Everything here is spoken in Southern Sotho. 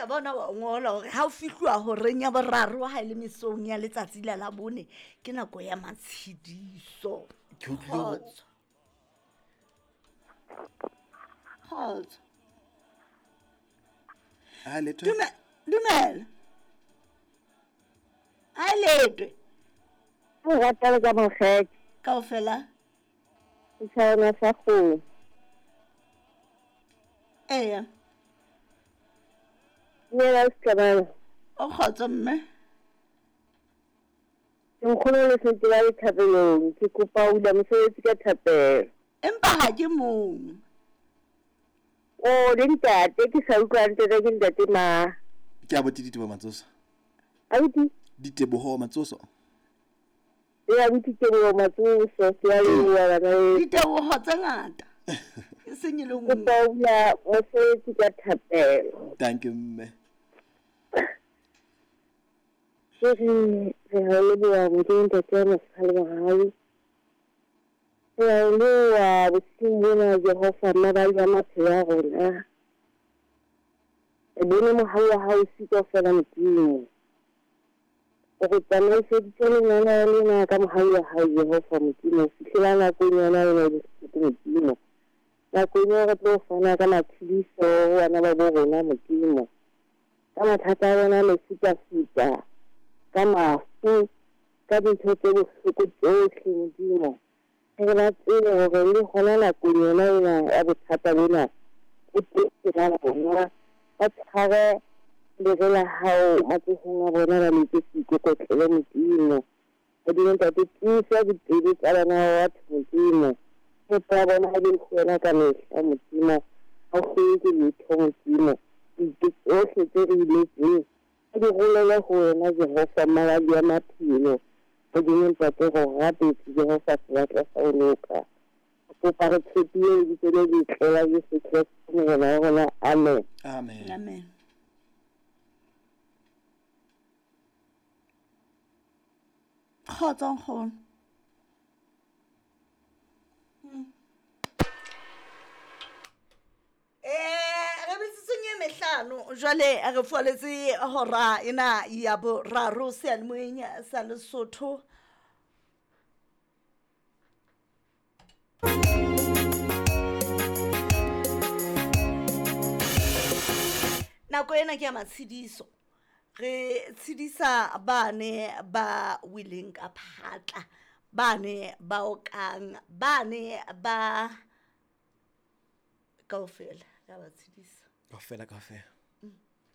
a bona wa ngola hore ha o fihluwa horeng ya boraro ha e le mesong ya letsatsi la Labone ke nako ya matshediso. Ke utlwile hore- Kgotso. Kgotso. Ha letho. Dumela. Ha e letwe. O rata le ka mokgetho. Kaofela. Setjhabana sa kgomo. Eya. Dumela Setlabana. O kgotso mme. Ke nkgono le sentse ba le thapelong. Ke kopa ho hula mosebetsi ka thapelo. Empa ha ke mong. O le ntate ke sa utlwa hantle ke ntate ma. Ke a botse Diteboho Matsoso. Abuti. Diteboho Matsoso. E abuti Teboho Matsoso, ke a leboha bana beso. Diteboho tse ngata. E seng e le nngwe. Kopa ho hula mosebetsi ka thapelo. Thank you mme. Ke re re a o leboha Modimo Ntate wa mosa le mohau. Re a o leboha bosiung bona Jehova mabali a maphelo a rona. Re bone mohau wa hao o kaofela Modimo. O re tsamaiseditse lenaneo lena ka mohau wa hao Jehova Modimo. Ho fihlela nakong yona ena e bohloko Modimo. Nakong eo re tlo fana ka matshediso ho bana ba bo rona Modimo. Ka mathata a bona a mefutafuta, ka mafu, ka dintho tse bohloko tsohle Modimo. Re ba tsebe hore le hona nakong yona ena ya bothata bona, o teng pela bona. Ba tshware lere la hao matsohong a bona ba letse seikokotlelo Modimo. Modimo Ntate, tiisa dipelo tsa bana ba batho Modimo. Tshepo ya bona ha e be ho wena ka mehla Modimo. Ha o hloke letho Modimo. Dintho tsohle tse re iletseng re di rolele ho wena Jehova mmaladi wa maphelo. Modimo Ntate, re o rapetse Jehova sebatla sa ho loka. Kopa re tshepile lebitso le letle la Jesu Kreste Morena wa rona. Amen. Amen. Amen. Kgotso nkgono. Re metsotsong e mehlano jwale re fualetse hora ena ya boraro seyalemoyeng sa Lesotho. Nako ena ke ya matshediso. Re tshedisa bane ba weleng ka phatla, bane ba okang, bane ba kaofela re a ba tshedisa. Kaofela kaofela.